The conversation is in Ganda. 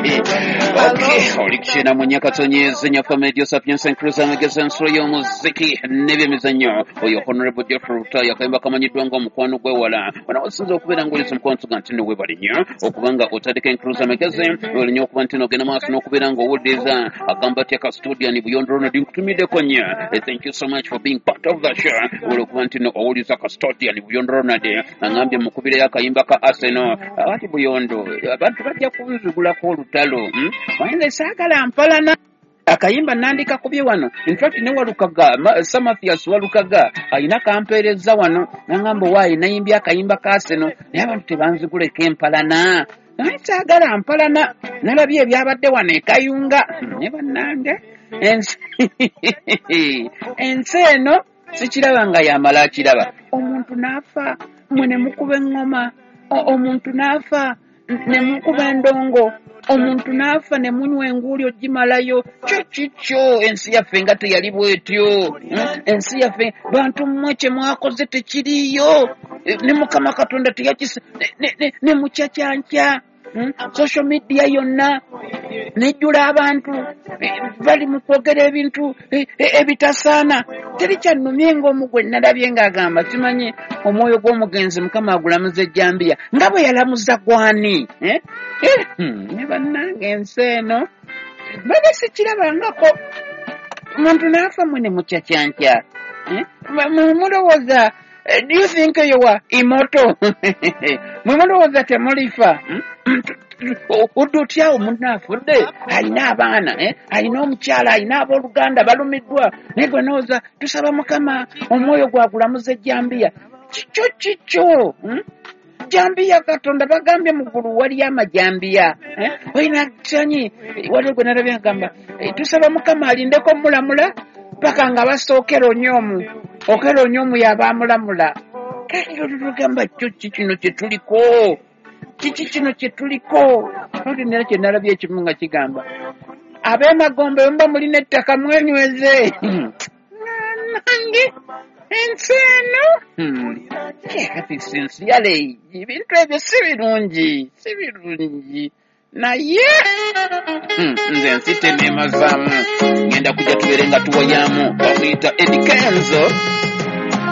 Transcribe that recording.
Okay, oli mu Nyakatonyezi Nyafa Media Sapiens and Cruiser amagezi ensolo y'omuziki n'ebyemizannyo. Oyo Honorable Geoffrey Lutaaya akayimba kamanyiddwa ng'omukwano gw'ewala. Wano wasinza okubeera ng'olesa omukwano tuga nti nno weebale nnyo okubanga otandika Encruiser amagezi, weebale nnyo okuba nti nno ogenda maaso n'okubeera ng'owuliriza. Agamba atya custodian Buyondo Ronald, nkutumiddeko nnyo. Thank you so much for being part of the show. Weebale okuba nti nno owuliriza custodian Buyondo Ronald. Angambye mukubireyo akayimba ka Arsenal. Abati Buyondo, abantu bajja kunzigulako olutalo. Naye saagala mpalana. Akayimba nandika kubye wano. In fact ne Walukaga, Sir Mathias Walukaga alina kampeereza wano nangamba waayi nayimbye akayimba ka Arsenal, naye abantu tebanziguleko empalana. Naye saagala mpalana, nalabye ebyabadde wano e Kayunga. Ne bannange ensi eno sikiraba nga yamala akiraba. Omuntu n'afa mmwe ne mukuba eŋŋoma, omuntu n'afa ne mukuba endongo, omuntu n'afa ne munywa enguuli ogimalayo. Kyo kikyo, ensi yaffe nga teyali bw'etyo. Ensi yaffe bantu mmwe kye mwakoze tekiriiyo. Ne Mukama Katonda teyakisa ne mukyakyankya. Social media yonna nejjula abantu bali mu kwogera ebintu ebitasaana. Teri kyannumye ng'omu gwe nalabye ng'agamba simanyi omwoyo gw'omugenzi Mukama agulamuza ejjambiya nga bwe yalamuza gwani. Ne bannange ensi eno babe sikirabangako muntu n'afa mmwe ne mukyakyankya. Mulowooza, do you think you are immortal? Mwe mulowooza temulifa? Odde otya omuntu afudde alina abaana, alina omukyala, alina abooluganda balumiddwa, naye gwe nowooza tusaba Mukama omwoyo gwagulamuza ejjambiya. Kikyo kikyo, jambiya Katonda bagambye mu ggulu waliyo amajambiya. Olina kyanyi waliwo gwe nalabye agamba tusaba Mukama alindeko mulamula paka nga basookera onyoomu, okera onyoomu yaba amulamula. Kati olugamba kyo ki kino kye tuliko? Kiki kino kye tuliko? Ate nera kye nalabye ekimu nga kigamba ab'emagombe muba mulina ettaka mwenyweze. Nange ensi eno kati sincerely ebintu ebyo si birungi, si birungi. Naye nze ensi teneemazaamu, ngenda kujja tubeere nga tuwayaamu. Bamuyita Eddy Kenzo.